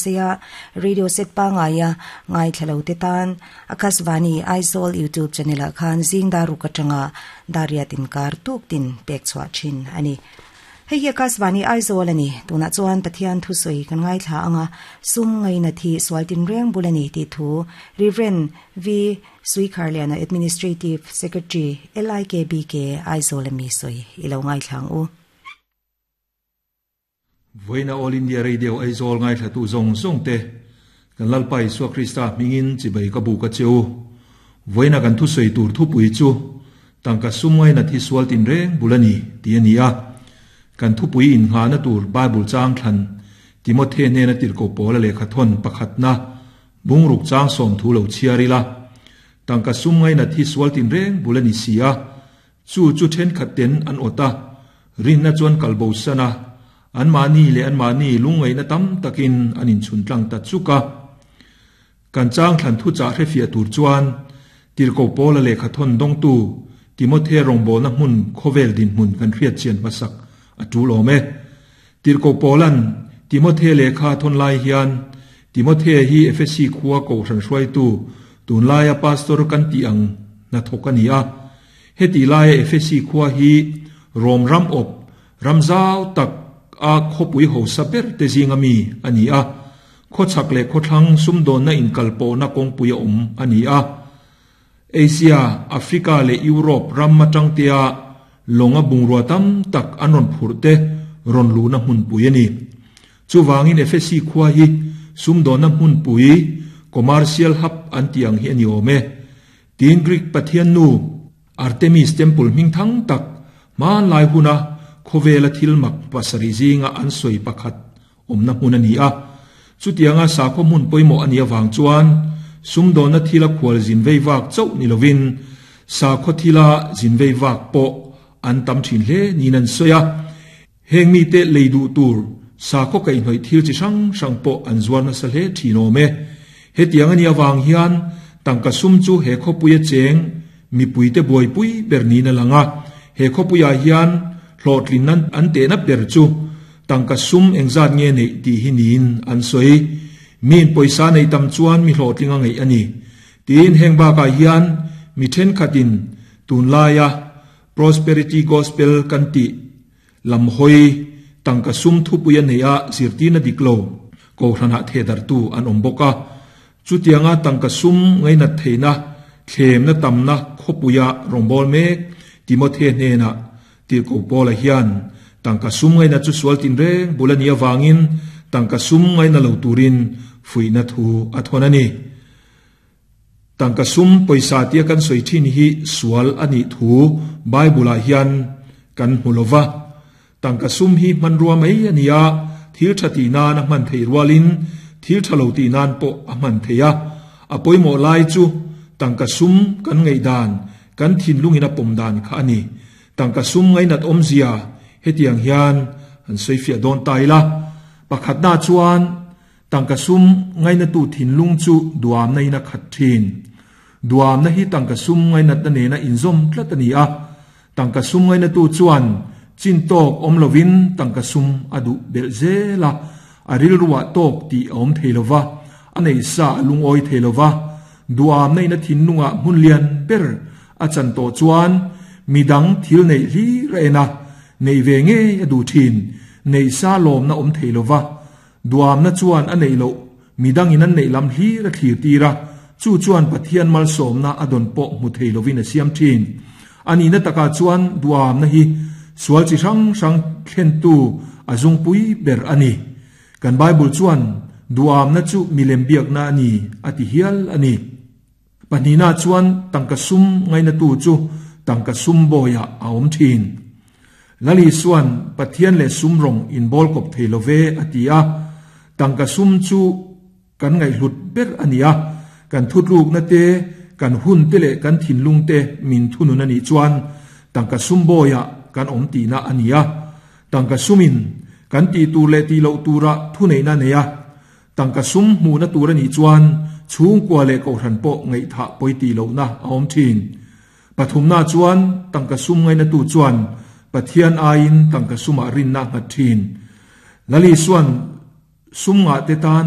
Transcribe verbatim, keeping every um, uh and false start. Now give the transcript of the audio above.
beseia radio set pa ngaia ngai thalo te tan Akashvani Aizawl YouTube channel ah khan zing dar ruk atanga dar riat inkar tuk tin pek chhuah thin ani. Hei hi Akashvani Aizawl ani. Tunah chuan Pathian thusawi kan ngaithla anga sum ngaina thi sual tin reng bul ani tih thu Reverend V Suikharliana Administrative Secretary L I K B K Aizawl ami sawi ilo ngaithla ang u. Voina All India Radio Aizawl ngaithla tu zawng zawng te kan Lalpa Isua Krista hmingin chibai ka bu ka cheu. Voina kan thusawi tur thupui chu tangka sum ngaina thi sual tin reng bul ani ti ani a. Kan thupui in nga na tur Bible chang thlan Timothy ne na tir ko pola le khathon pakhat na bungruk chang som thu lo chiarila. Tangka sum ngai na thi sual tin reng bulani sia chu chu then khat ten an ota rin na chuan kalbo sana an mani le an mani lungai na tam takin anin chun tlang ta chuka. Kan chang thlan thu cha hre fia tur chuan tir ko pola le khathon dong tu Timothy rongbo na hmun khovel din hmun kan hriat chian masak atul ome. Tir ko polan Timothy le kha thon lai hian Timothy hi Efesi khuwa ko ran hruai tu tun laia pastor kan ti ang na thokani a. Heti laia Efesi khuwa hi Rom ram op ramzau tak a khopui ho saber te zingami ani a. Kho chak le kho thlang sumdon na in kalpo na kongpui om ani a. Asia, Africa le Europe ram matang tia longa bungrua tam tak anon phurte ron lu na hun pui ani. Chuwangin Efesi khuwa hi sumdon na hun pui commercial hub an tiang hi ani ome. Tin Greek Pathian nu Artemis temple ming thang tak man lai huna khovela thil mak pasari zinga an soi pakhat omna hun ani a. Chutianga sakho mun poimo ani awang chuan sumdon na thila khwal zin vei wak chau ni lovin sakho thila zin vei wak po an tam thin hle ni nan soya. Heng mi te leidu tur sakho kai hnoi thil chi sang sang po an zuar na sa hle thinome. Hetiang ani awang hian tangka sum chu he khopuia cheng mi puite buai pui berni na langa. He khopuia hian hlotlin nan an te na ber chu tangka sum engzat nge nei ti hi nin an soi. Min poisa nei tam chuan mi hlotlinga ngei ani. Tin heng ba ka hian mi then khatin tun laia prosperity gospel kan ti lam hoi tangka sum thu puia nei a zirtina diklo ko hrana thedar tu an omboka. Chutianga tangka sum ngai na theina thlem na tamna khopuya rongbol mek Timothy hne na tir ko pola hian tangka sum ngai na chu sual tin reng bulania wangin tangka sum ngai na lo turin fuina thu athonani. Tangka sum poisa tia kan soi thin hi sual ani thu Bible a hian kan hulova. Tangka sum hi manrua mai ania thil thati na na man thei rualin thil thalo ti nan po a man theia. Apoimo lai chu tangka sum kan ngei dan kan thin lungin a pom dan kha ani. Tangka sum ngai nat omzia hetiang hian an soifia don taila. Pakhat na chuan tangka sum ngai na tu thin lung chu duam nei na khat thin. Duam na hi tangka sum ngai nat na ne na inzom tlat ani a. Tangka sum ngai na tu chuan chin tok om lovin tangka sum adu bel zela aril ruwa tok ti om theilova anei sa lung oi theilova. Duam nei na thin nunga mun lian ber a chan to chuan midang thil nei hi reina nei ve nge adu thin nei sa lom na om theilova. Duam na chuan anei lo midang in an nei lam hi ra thlir tira chu chuan Pathian mal som na adon po mu theilovin a siam thin ani na taka chuan duam na hi sual chi sang sang thlen tu azung pui ber ani. Kan Bible chuan duam na chu milem biak na ani ati hial ani. Panina chuan tangka sum ngai na tu chu tangka sum boya aom thin. Lali suan Pathian le sumrong in bol kop theilove atia. Tangka sum chu kan ngai hlut ber ania. Kan thutluk na te kan hun te le kan thin lung te min thunun ani chuan tangka sum boya kan om ti na ania. Tangka sumin kan ti tu le ti lo tura thu nei na neya. Tangka sum mu na tur ani chuan chung kwa le ko ran po ngai tha poi ti lo na aom thin. Pathum na chuan tangka sum ngai na tu chuan Pathian ain tangka suma rin na nga thin. Lali suan sum nga te tan.